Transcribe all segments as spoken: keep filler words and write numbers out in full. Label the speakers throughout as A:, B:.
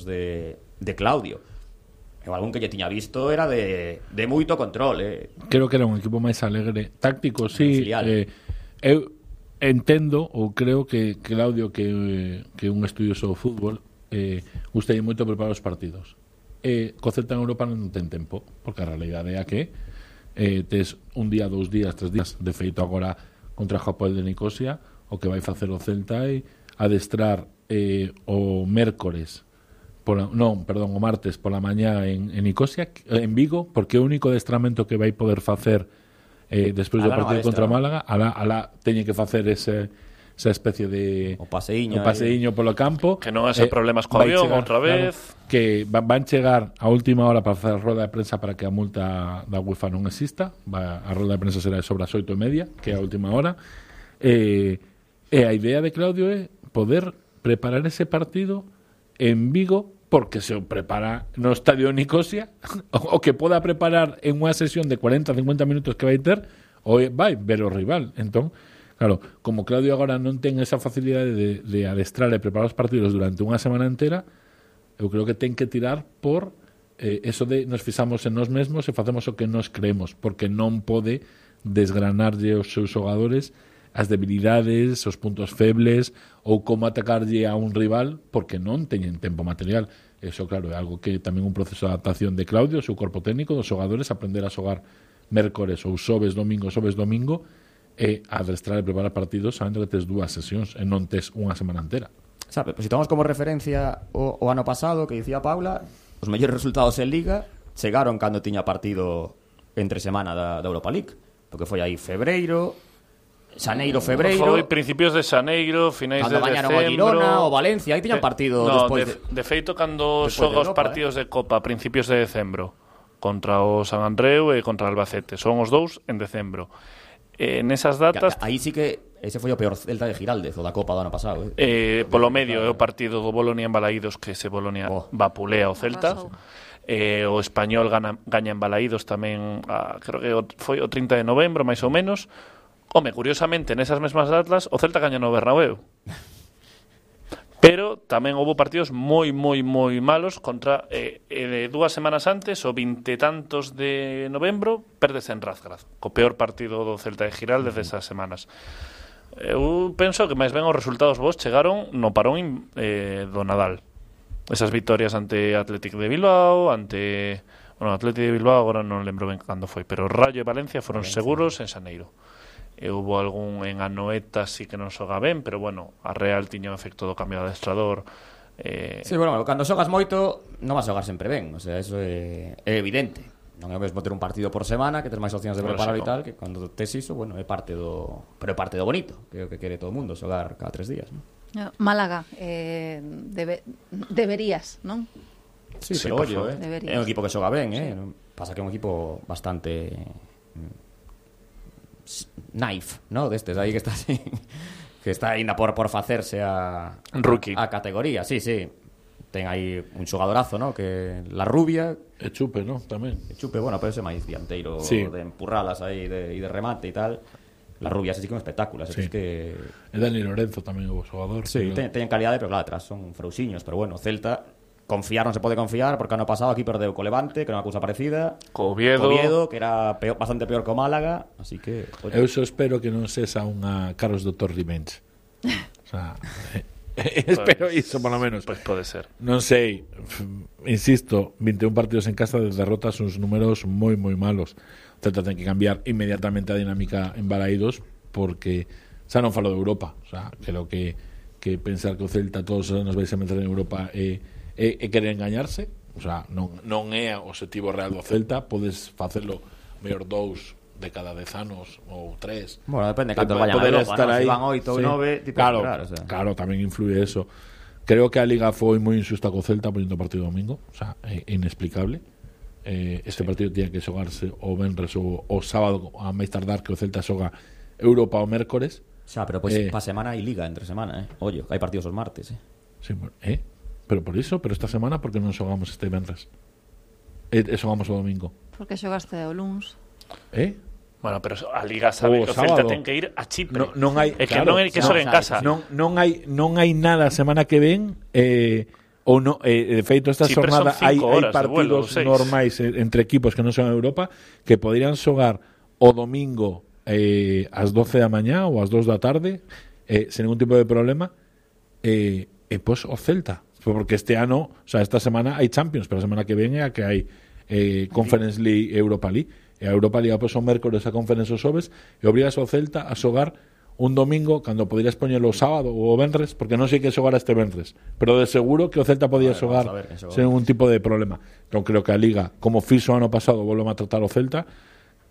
A: de, de Claudio. Eu algún que lle tiña visto era de, de moito control, eh.
B: Creo que era un equipo máis alegre. Táctico, sí. Eh, eu entendo ou creo que Claudio, que, que un estudioso do fútbol, eh, gustaría moito preparar os partidos. Eh, co Celta en Europa non ten tempo, porque a realidade é a que eh, tes un día, dous días, tres días. De feito, agora contra o Hapoel de Nicosia, o que vai facer o Celta é adestrar eh, o mércores pola, non, perdón, o martes pola mañá en, en Nicosia, en Vigo, porque o único adestramento que vai poder facer eh, despois do partido contra Málaga, alá, alá teñen que facer ese, esa especie de
A: o paseiño,
B: o paseiño polo campo,
C: que non haxa eh, problemas co avión outra vez,
B: claro, que van, van chegar a última hora para facer a roda de prensa para que a multa da UEFA non exista. Va, a roda de prensa será sobre as oito e media, que é a última hora. E eh, eh, a idea de Claudio é poder preparar ese partido en Vigo, porque se o prepara no estadio de Nicosia, o que poda preparar en unha sesión de cuarenta a cincuenta minutos que vai ter, ou vai ver o rival. Entón, claro, como Claudio agora non ten esa facilidade de, de adestrar e preparar os partidos durante unha semana entera, eu creo que ten que tirar por eh, eso de nos fixamos en nós mesmos e facemos o que nos creemos, porque non pode desgranarlle os seus xogadores as debilidades, os puntos febles ou como atacarlle a un rival, porque non teñen tempo material. Eso, claro, é algo que tamén un proceso de adaptación de Claudio, o seu corpo técnico, dos xogadores, aprender a xogar mércores ou xoves, domingo, xoves, domingo, e adestrar e preparar partidos sabendo que tes dúas sesións e non tes unha semana entera.
A: Sabe, pues si tomamos como referencia o, o ano pasado, que dicía Paula, os mellores resultados en Liga chegaron cando tiña partido entre semana da, da Europa League, porque foi aí febreiro, xaneiro, febreiro.
C: Foi principios de xaneiro, finais de decembro.
A: Cando bañaron o Girona, o Valencia, aí tiñan partido
C: no,
A: despois
C: de,
A: de...
C: de feito, cando xoga os partidos eh? de Copa a principios de decembro contra o San Andreu e contra o Albacete, son os dous en decembro. Eh, nesas datas...
A: Aí sí que ese foi o peor Celta de Giraldez, o da Copa do ano pasado.
C: Eh,
A: Eh.
C: polo medio é o partido do Bolonia en Balaídos, que se Bolonia oh. vapulea o Celta. Eh, o Español gana, gaña en Balaídos tamén, a, creo que foi o trinta de novembro, máis ou menos. Home, curiosamente, nesas mesmas datas o Celta gaña no Bernabéu. Pero tamén houve partidos moi, moi, moi malos contra eh, eh, dúas semanas antes, o vinte tantos de novembro, perdes en Razgrad, co peor partido do Celta de Giral desde esas semanas. Eu penso que máis ben os resultados vos chegaron no parón eh, do Nadal. Esas vitorias ante Athletic de Bilbao, ante... Bueno, Athletic de Bilbao agora non lembro ben cando foi, pero Rayo e Valencia foron Valencia. seguros en Xaneiro. E houve algún en Anoeta sí que non xoga ben, pero bueno, a Real tiña o efecto do cambio de adestrador. Eh...
A: Sí, bueno, cando xogas moito non vas a xogar sempre ben, o sea, eso é, é evidente. Non é o mesmo ter un partido por semana, que ter máis opcións de preparar e tal, que cando tes iso, bueno, é parte do... Pero é parte do bonito, que é o que quere todo o mundo, xogar cada tres días, non?
D: Málaga, eh, debe, deberías, non?
A: Sí, sí, pero ollo, eh? É un equipo que xoga ben, eh? Sí. Pasa que é un equipo bastante... Knife, ¿no? Destes aí que está así, que está ainda por, por facerse a,
C: Rookie.
A: a, a categoría, sí, sí. Ten aí un xogadorazo, ¿no? Que la rubia...
B: E Chupe, ¿no? Tamén.
A: E Chupe, bueno, pero ese máis dianteiro
B: sí.
A: de empurralas aí de, e de remate e tal. La rubia, ese sí que é un espectáculo.
B: Sí.
A: Es que...
B: E Dani Lorenzo tamén o xogador.
A: Sí, pero... teñen calidade, pero claro, atrás son frausiños. Pero bueno, Celta... Confiar non se pode confiar, porque ano pasado aquí perdeu co Levante, que era unha cousa parecida,
C: co Oviedo,
A: co Oviedo que era peor, bastante peor co Málaga, así que...
B: Oye. Eu só espero que non sexa unha Carlos Doutor Revenge. O sea, eh, espero iso, por lo menos.
C: Pois pues pode ser.
B: Non sei, insisto, vinte e un partidos en casa de derrotas, uns números moi, moi malos. O Celta ten que cambiar inmediatamente a dinámica en Balaídos, porque xa non falo de Europa, o sea, creo que, que pensar que o Celta todos os anos vai a meter en Europa e... E, e querer engañarse, o sea, non, non é o objetivo real do Celta. Podes facelo mellor dous de cada dez anos ou tres.
A: Bueno, depende de canto vayan a Europa, ¿no? Si van oito ou nove, tipo
B: claro,
A: esperar, o sea.
B: Claro, tamén influye eso. Creo que a Liga foi moi injusta co Celta poniendo partido domingo, o sea, é inexplicable. Eh, este sí. partido tiña que xogarse o venres ou o sábado a máis tardar, que o Celta xoga Europa o mércores.
A: Xa, pero pois pues, eh, pa semana hai Liga entre semana, eh. Ollo, hai partidos os martes, eh.
B: Sí, eh pero por iso, pero esta semana porque non xogamos este venres e, e xogamos o domingo,
D: porque xogaste o luns,
B: eh?
C: Bueno, pero a Liga sabe o que o Celta ten que ir a Chipre,
B: no, non hai,
C: é que
B: claro,
C: non hai que xogar en casa,
B: non, non hai non hai nada a semana que ven, eh, ou no, eh, de feito esta
C: Chipre
B: xornada
C: son
B: hai,
C: cinco
B: hai
C: horas de
B: partidos
C: vuelo, seis.
B: normais entre equipos que non son Europa que poderían xogar o domingo eh, ás doce da mañá ou ás dos da tarde eh, sen ningún tipo de problema eh, e pois o Celta porque este ano, o sea, esta semana hai Champions pero a semana que ven é a que hai eh, Conference League e Europa League e a Europa League pois o mércores a Conference os xoves e obrigas o Celta a xogar un domingo cando poderías poñelo o sábado ou o venres, porque non sei que xogara este venres, pero de seguro que o Celta podía
A: Vale,
B: xogar sen ningún tipo de problema. Entón creo que a Liga, como fixo o ano pasado, volve a tratar o Celta.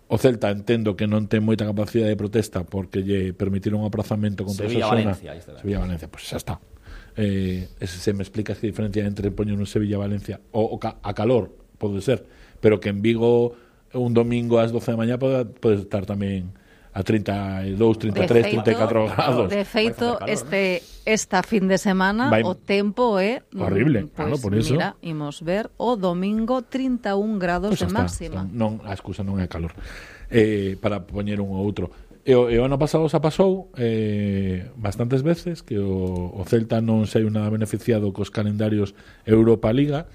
B: O Celta entendo que non ten moita capacidade de protesta porque lle permitiron un aprazamento contra
A: Sevilla,
B: Osasuna.
A: Valencia, ahí está.
B: Sevilla Valencia, pois pues xa está. Eh, ese, se me explicas que diferencia entre poñer un Sevilla Valencia o, o ca, a calor, pode ser, pero que en Vigo un domingo ás doce da mañá pode, pode estar tamén a treinta e dous, trinta e tres, trinta e catro grados.
D: De feito,
A: calor,
D: este esta fin de semana
B: Vai-
D: o tempo é
B: Horrible,
D: pues,
B: claro, por eso.
D: Mira, imos ver o domingo trinta e un grados
B: Pois
D: de
B: xa está.
D: máxima.
B: Non, a excusa non é calor. Eh, para poñer un ou outro. E o, e o ano pasado xa pasou eh, bastantes veces que o, o Celta non sei nada beneficiado cos calendarios Europa Liga.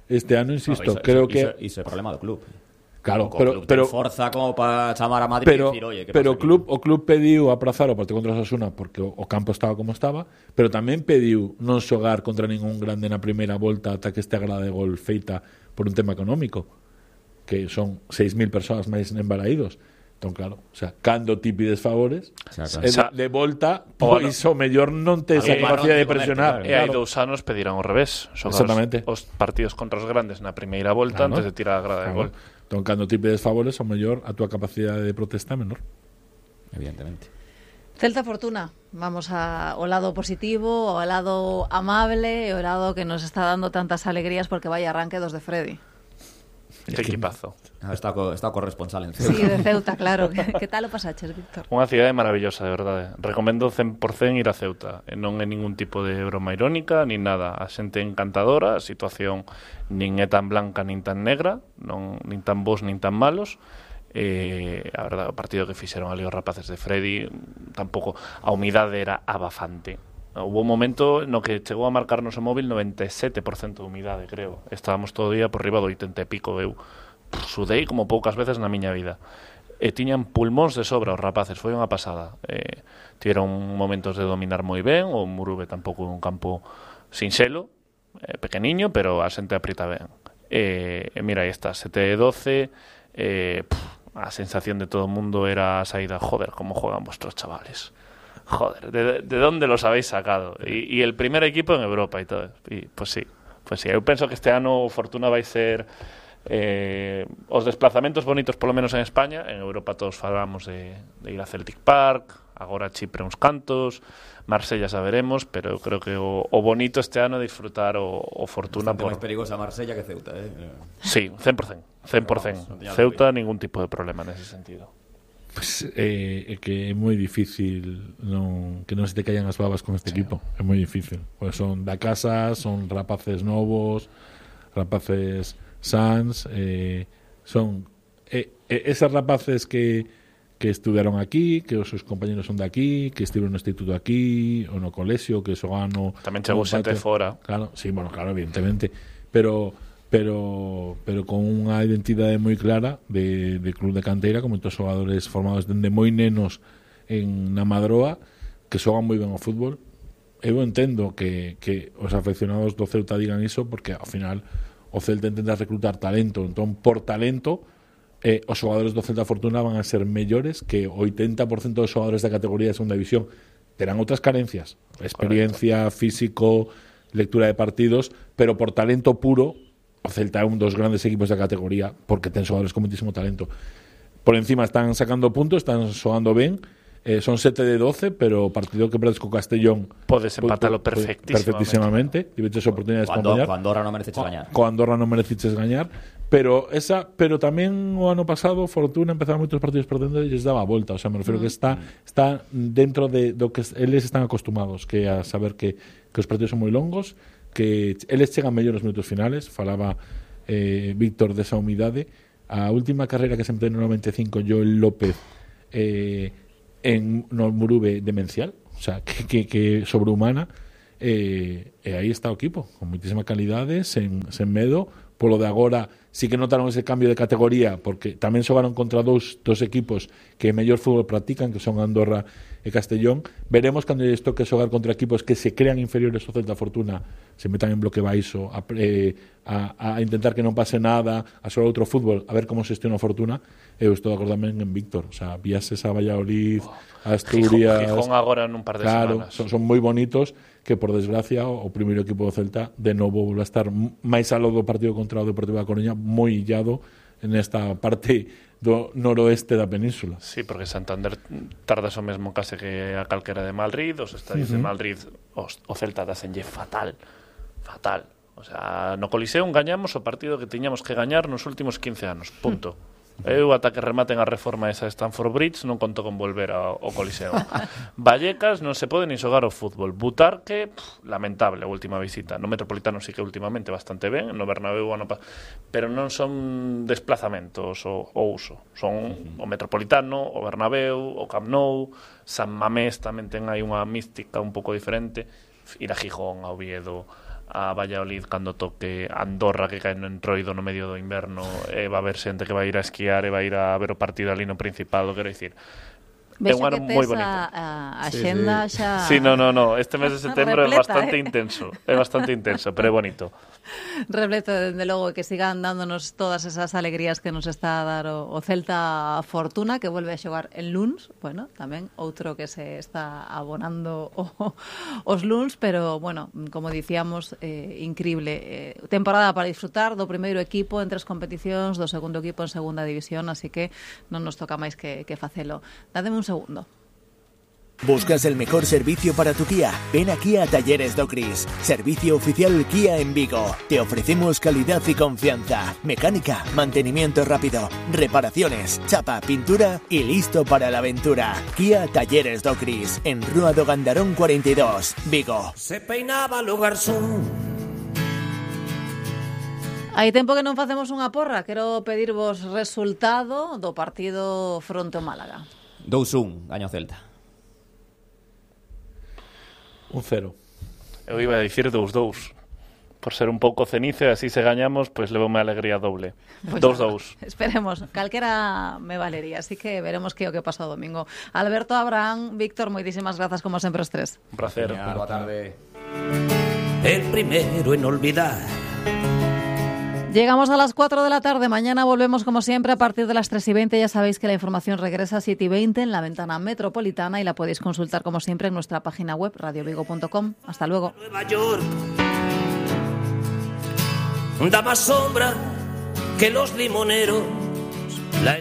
B: Este ano, insisto,
A: No, iso,
B: creo
A: iso,
B: que...
A: Iso é problema do club.
B: Claro,
A: O
B: pero,
A: club
B: pero,
A: ten forza como para chamar a Madrid
B: pero,
A: e dicir, oye, que
B: pero o
A: pasa aquí?
B: club, o club pediu aprazar o partido contra o Osasuna porque o, o campo estaba como estaba, pero tamén pediu non xogar contra ningún grande na primeira volta ata que este grada de gol feita por un tema económico, que son seis mil persoas máis embaraídos. Entón, claro, o sea, cando ti pides favores,
A: Exacto.
B: e de, de volta,
C: O
B: pois o mellor non te esa
A: Aí,
B: capacidade de
A: para non
B: presionar.
A: comerte,
C: E hai
B: claro.
C: dous anos pedirán ao revés. Xogar
B: Exactamente.
C: os, os partidos contra os grandes na primeira volta
B: Claro.
C: antes de tirar a grada de
B: Claro.
C: gol.
B: Entón, cando ti pides favores, o mellor a túa capacidade de protesta é menor.
A: Evidentemente.
D: Celta Fortuna, vamos a, ao lado positivo, ao lado amable, ao lado que nos está dando tantas alegrías porque vai arranque dos de Freddy.
C: Que equipazo.
A: Ah, Está co, está corresponsal en
D: Sí,
A: Ceuta.
D: de Ceuta, claro. Que tal o pasaches, Víctor?
C: Unha cidade maravillosa, de verdade. Recomendo cen por cen ir a Ceuta. E non é ningún tipo de broma irónica, nin nada. A xente encantadora, a situación nin é tan blanca nin tan negra, non nin tan bons nin tan malos. Eh, a verdade, o partido que fixeron ali os rapaces de Freddy, tampouco a humidade era abafante. Hubo un momento no que chegou a marcarnos o móvil noventa e sete por cento de humidade, creo. Estábamos todo o día por riba do oitenta e pico. Eu pff, sudei como poucas veces na miña vida. E tiñan pulmóns de sobra os rapaces, foi unha pasada. Eh, tiveron momentos de dominar moi ben, o Murube tampouco é un campo sinxelo, eh, pequeniño, pero a xente aprieta ben. E, e mira, aí está, sete e doce, eh, pff, a sensación de todo o mundo era a saída, joder, como juegan vuestros chavales. Joder, ¿de, de dónde los habéis sacado? Y, y el primer equipo en Europa y todo. Y pues sí, pues sí. Eu penso que este ano Fortuna vai ser eh, os desplazamentos bonitos, polo menos en España. En Europa todos falamos de, de ir a Celtic Park, agora Chipre uns cantos, Marsella xa veremos, pero eu creo que o, o bonito este ano é disfrutar o, o Fortuna
A: Bastante
C: por...
A: máis perigosa Marsella que Ceuta, eh?
C: Sí, cen por cen, cen por cen.
A: Vamos, non teña
C: Ceuta,
A: dúbida.
C: ningún tipo de problema nese sentido.
B: Pues, eh, é que é moi difícil non, que non se te caian as babas con este sí. equipo. É moi difícil. Pues son da casa, son rapaces novos, rapaces sans, eh, son eh, eh, esas rapaces que, que estudiaron aquí, que os seus compañeros son de aquí, que estiveron no instituto aquí, ou no colexio, que xogan no...
C: Tamén chegou
B: no
C: xente
B: patio.
C: fora.
B: Claro, sí, bueno, claro, evidentemente. Pero... pero pero con unha identidade moi clara de, de club de canteira, con moitos xogadores formados dende moi nenos en na Madroa que xogan moi ben ao fútbol. Eu entendo que, que os afeccionados do Celta digan iso porque ao final o Celta intenta reclutar talento, entón por talento eh, os xogadores do Celta Fortuna van a ser mellores que o oitenta por cento dos xogadores da categoría de segunda división. Terán outras carencias, experiencia, físico, lectura de partidos, pero por talento puro o Celta é un dos grandes equipos da categoría porque ten xogadores con muitísimo talento. Por encima están sacando puntos, están xoando ben, eh, son sete de doce, pero o partido que perdes co Castellón
C: Podes empatalo perfectísimamente.
B: perfectísimamente. Tiveches oportunidades para
A: Cuando,
B: gañar.
A: cuando ahora non mereceches gañar.
B: Co Andorra non mereciches gañar, pero esa, pero tamén o ano pasado Fortuna empezaba moitos partidos perdendo e lles daba a volta, o sea, me refiero que está está dentro de do que eles están acostumados, que a saber que que os partidos son moi longos, que eles chegan mellor nos minutos finales. Falaba eh, Víctor desa humidade. A última carreira que se empezou no noventa e cinco, Joel López eh, en no Murube demencial, o sea, que, que, que sobrehumana. e, e aí está o equipo, con moitísima calidade, sen, sen medo. Polo de agora sí que notaron ese cambio de categoría, porque tamén xogaron contra dous, dos equipos que mellor fútbol practican, que son Andorra e Castellón. Veremos cando lles toque xogar contra equipos que se crean inferiores ao Celta Fortuna, se metan en bloque baixo, a, eh, a, a intentar que non pase nada, a xogar outro fútbol, a ver como se gestiona a Fortuna. Eu estou de acordo tamén en Víctor, o sea, viases a Valladolid, a Asturias...
C: Gijón, Gijón agora nun par de
B: claro,
C: semanas.
B: Son, son moi bonitos, que por desgracia o, o primeiro equipo do Celta de novo volve a estar máis aló do partido contra o Deportivo da Coruña, moi illado nesta parte do noroeste da península.
C: Sí, porque Santander tardas o mesmo case que a calquera de Madrid, os estadios uh-huh. de Madrid, os, o Celta dasenlle fatal, fatal. O sea, no Coliseum gañamos o partido que tiñamos que gañar nos últimos quince anos, punto. Uh-huh. Eu ata que rematen a reforma esa de Stamford Bridge non conto con volver ao, ao Coliseum. Vallecas non se pode nin xogar ao fútbol. Butarque, pff, lamentable a última visita. No Metropolitano sí que últimamente bastante ben, no Bernabéu ano pa... pero non son desplazamentos o, o uso. Son uh-huh. o Metropolitano, o Bernabéu, o Camp Nou, San Mamés tamén ten aí unha mística un pouco diferente. Ir a Gijón, a Oviedo, a Valladolid cando toque, Andorra que cae no entroido no medio do inverno, e va a haber xente que vai ir a esquiar e vai ir a ver o partido ali no Principado, quero dicir.
D: Vexo é un ano moi bonito. A, a xenda sí, sí. xa...
C: Sí, no, no, no, este mes de setembro é bastante eh? intenso, é bastante intenso, pero é bonito.
D: Repleto, dende logo, que sigan dándonos todas esas alegrías que nos está a dar o, o Celta Fortuna, que volve a xogar en luns, bueno, tamén outro que se está abonando o, os luns, pero, bueno, como dicíamos, eh, increíble. Eh, temporada para disfrutar do primeiro equipo en tres competicións, do segundo equipo en segunda división, así que non nos toca máis que, que facelo. Dádeme un segundo.
E: ¿Buscas el mejor servicio para tu Kia? Ven aquí a Talleres Docris, servicio oficial Kia en Vigo. Te ofrecemos calidad y confianza, mecánica, mantenimiento rápido, reparaciones, chapa, pintura y listo para la aventura. Kia Talleres Docris, en Rúa do Gandarón cuarenta y dos, Vigo.
F: Se peinaba o garzón.
D: Hai tempo que non facemos unha porra. Quero pedirvos resultado do partido fronte ao Málaga.
A: dous un, gaño Celta.
B: Un cero.
C: Eu iba a dicir dous dous. Por ser un pouco cenizo e así se gañamos, pois pues levoume a alegría doble.
D: Pues
C: dous dous.
D: Esperemos, calquera me valería, así que veremos que o que pasa o domingo. Alberto, Abraham, Víctor, moitísimas grazas como sempre os tres.
C: Un placer.
A: Genial, boa tarde.
F: El primero en olvidar.
D: Llegamos a las cuatro de la tarde. Mañana volvemos como siempre a partir de las tres y veinte. Ya sabéis que la información regresa a siete y veinte en la ventana metropolitana y la podéis consultar como siempre en nuestra página web radio vigo punto com. Hasta luego.
F: Nueva York da más sombra que los limoneros. La